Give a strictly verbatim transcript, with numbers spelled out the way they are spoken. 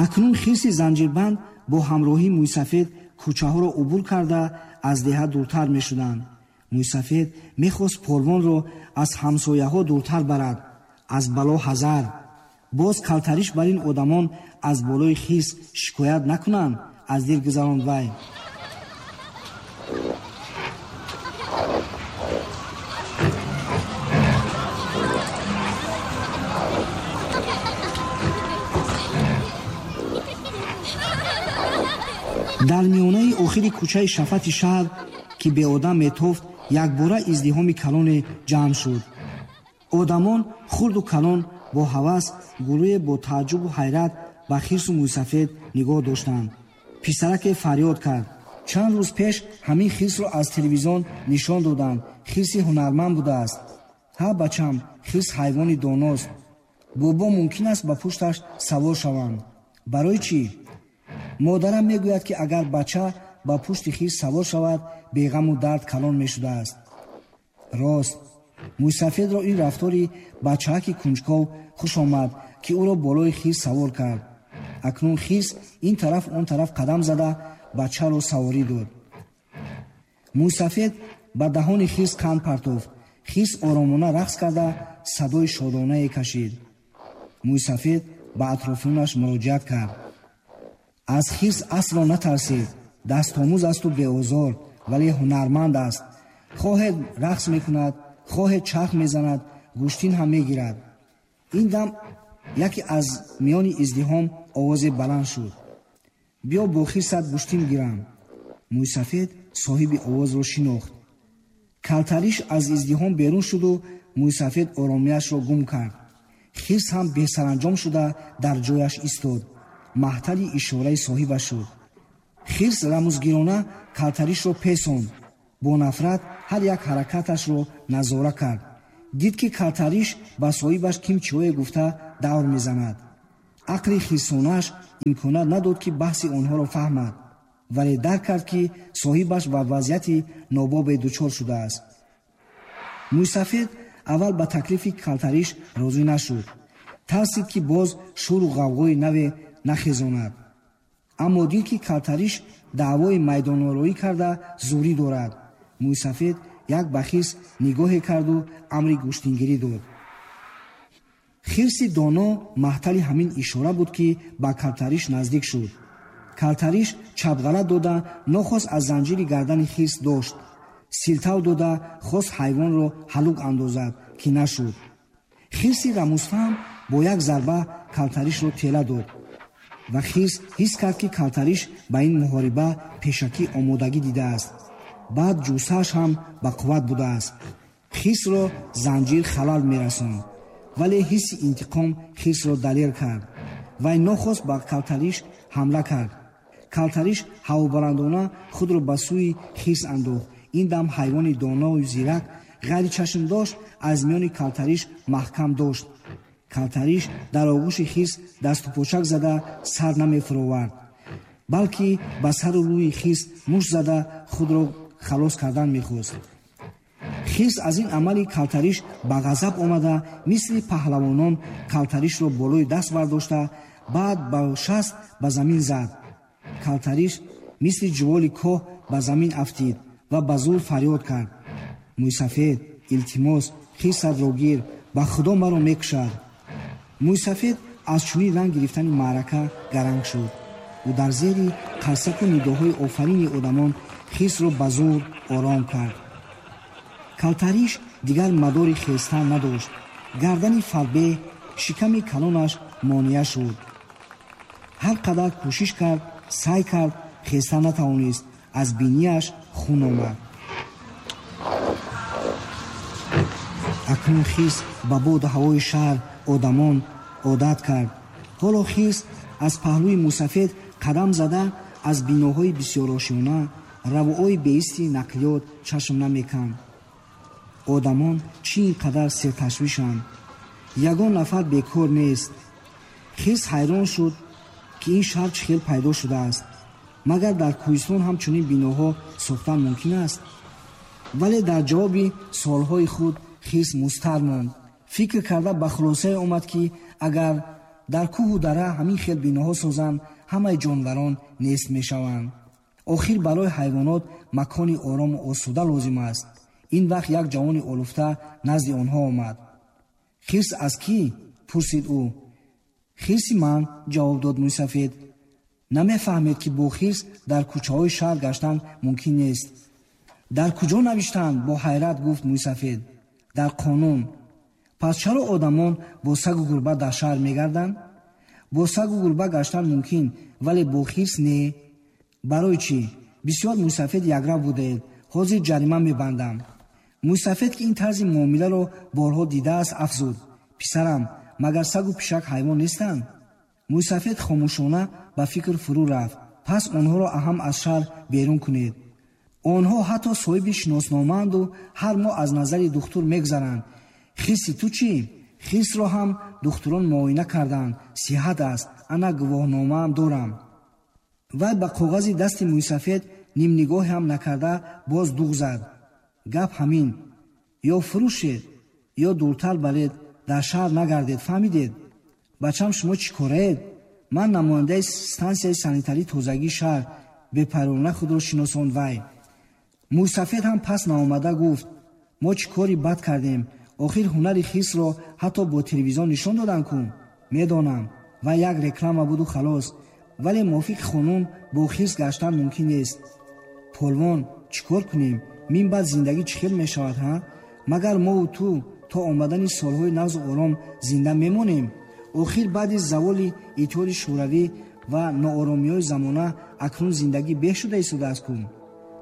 Акнун хирси занҷирбанд бо ҳамроҳии мӯйсафед кӯчаҳоро убур карда аз деҳа дуртар мешуданд. Мӯйсафед мехост полвонро аз ҳамсояҳо дуртар барад, аз бало ҳазар. Боз калтариш бар ин одамон аз болои хирс шикоят накунанд, аз дил гузаронд вай. Дар миёнаи охири кӯчаи шафати шаҳр, ки беодам метофт, якбора издиҳоми калоне ҷамъ шуд. Одамон хурду калон бо ҳавас, гурӯҳе бо тааҷҷубу ҳайрат ба хирсу мӯйсафед нигоҳ доштанд. Писараке фарёд кард: чанд рӯз пеш ҳамин хирсро аз телевизион нишон доданд. Хирси ҳунарманд будааст. Ҳа, бачам, хирс ҳайвони доност. Бобо мумкин аст ба пушташ савор шаванд. Барои чӣ? Модарам мегӯяд, ки агар бача ба пушти хирс савор шавад, беғаму дард калон мешудааст. Рост, мӯйсафедро ин рафтори бачааки кунҷков хуш омад, ки ӯро болои хирс савор кард. Акнун хирс ин тараф он тараф қадам зада бачаро саворӣ дод. Мӯйсафед ба даҳони хирс қанд партофт. Хирс оромона рақс карда садои шодонае кашид. Мӯйсафед ба атрофиёнаш муроҷиат кард. Аз хирс асло натарсед, дастомӯз асту беозор, вале ҳунарманд аст. Хоҳед рақс мекунад, хоҳед чарх мезанад, гӯштин ҳам мегирад. Ин дам яке аз миёни издиҳом овозе баланд шуд: биё бо хирсат гӯштин гирам. Мӯйсафед соҳиби овозро шинохт. Калтариш аз издиҳом берун шуду мӯйсафед оромияшро гум кард. Хирс ҳам бесаранҷом шуда дар ҷояш истод, маҳтали ишораи соҳибаш шуд. Хирс рамузгирона калтаришро песонд. Бо нафрат ҳар як ҳаракаташро назора кард. Дид, ки калтариш ба соҳибаш ким чиҳое гуфта давр мезанад. Ақли хирсонааш имконат надод, ки баҳси онҳоро фаҳмад, вале дарк кард, ки соҳибаш ба вазъияти нобобе дучор шудааст. Мӯйсафед аввал ба таклифи калтариш розӣ нашуд. Тарсид, ки боз шӯру ғавғои наве нахезонад. Аммо дид, ки калтариш даъвои майдонороӣ карда зурӣ дорад. Мӯйсафед як ба хирс нигоҳе карду амри гӯштингирӣ дод. Хирси доно маҳтали ҳамин ишора буд, ки ба калтариш наздик шуд. Калтариш чапғалат дода нохост аз занҷири гардани хирс дошт. Силтав дода хост ҳайвонро ҳалук андозад, ки нашуд. Хирси рамузфаҳм бо як зарба калтаришро тела дод ва хирс ҳис кард, ки калтариш ба ин муҳориба пешакӣ омодагӣ дидааст. Баъд ҷусааш ҳам ба қувват будааст. Хирсро занҷир халал мерасонд, вале ҳисси интиқом хирсро далер кард. Вай нохост ба калтариш ҳамла кард. Калтариш ҳавобаландона худро ба сӯи хирс андохт. Ин дам ҳайвони доною зирак ғайричашмдошт аз миёни калтариш маҳкам дошт. Калтариш дар оғӯши хирс дасту почак зада сар намефуровард, балки ба сару рӯи хирс мушт зада худро халос кардан мехост. Хирс аз ин амали калтариш ба ғазаб омада, мисли паҳлавонон калтаришро болои даст бардошта, баъд ба шаст ба замин зад. Калтариш мисли ҷуволи коҳ ба замин афтид ва ба зур фарёд кард: мӯйсафед, илтимос, хирсатро гир, ба худо маро мекушад. Мӯйсафед аз чунин ранг гирифтани маърака гаранг шуд. Ӯ дар зери қарсаку нидоҳои офарини одамон хирсро ба зур ором кард. Калтариш дигар мадори хестан надошт. Гардани фарбе, шиками калонаш монеа шуд. Ҳар қадар кӯшиш кард, сай кард, хеста натавонист. Аз бинияш хун омад. Акнун хирс ба боду ҳавои шаҳр, одамон одат кард. Ҳоло хирс аз паҳлӯи мӯсафед қадам зада аз биноҳои бисёрошёна, равоҳои беисти нақлиёт чашм намеканд. Одамон чӣ ин қадар серташвишанд? Ягон нафар бекор нест. Хирс ҳайрон шуд, ки ин шаҳр чӣ хел пайдо шудааст. Магар дар кӯҳистон ҳам чунин биноҳо сохтан мумкин аст? Вале дар ҷавоби суолҳои худ хирс мустар монд. Фикр карда ба хулосае омад, ки агар дар кӯҳу дара ҳамин хел биноҳо созанд, ҳамаи ҷонварон нест мешаванд. Охир барои ҳайвонот макони орому осуда лозим аст. Ин вақт як ҷавони олуфта назди онҳо омад. Хирс аз кӣ? Пурсид ӯ. Хирси ман, ҷавоб дод мӯйсафед. Намефаҳмед, ки бо хирс дар кӯчаҳои шаҳр гаштан мумкин нест. Дар куҷо навиштанд? Бо ҳайрат гуфт мӯйсафед. Дар қонун. Пас чаро одамон бо сагу гурба дар шаҳр мегарданд? Бо сагу гурба гаштан мумкин, вале бо хирс не. Барои чӣ? Бисёр мӯйсафед якрав будаед. Ҳозир ҷарима мебандам. Мӯйсафед, ки ин тарзи муомиларо борҳо дидааст, афзуд: писарам, магар сагу пишак ҳайвон нестанд? Мӯйсафед хомӯшона ба фикр фурӯ рафт. Пас онҳоро аҳам аз шаҳр берун кунед. Онҳо ҳатто соҳиби шиносномаанду ҳар моҳ аз назари духтур мегузаранд. Хирси ту чӣ? Хирсро ҳам духтурон муоина карданд. Сиҳат аст, ана гувоҳномаам дорам. Вай ба коғази дасти мӯйсафед нимнигоҳе ҳам накарда боз дуғ зад. Гап ҳамин: ё фурӯшед, ё дуртар баред, дар шаҳр нагардед, фаҳмидед? Бачам, шумо чӣ кораед? Ман намояндаи стансияи санитарии тозагии шаҳр, бепарвона худро шиносонд вай. Мӯйсафед ҳам пас наомада гуфт: мо чӣ кори бад кардем? Охир ҳунари хирсро ҳатто бо телевизион нишон доданд ку? Медонам, вай як реклама буду халос, вале мувофиқи қонун бо хирс гаштан мумкин нест. Полвон, чӣ кор кунем? Мин баъд зиндагӣ чӣ хел мешавад, ҳа? Магар мову ту то омадани солҳои нағзу ором зинда мемонем? Охир баъди заволи Иттиҳоди Шӯравӣ ва нооромиҳои замона акнун зиндагӣ беҳ шуда истодааст ку?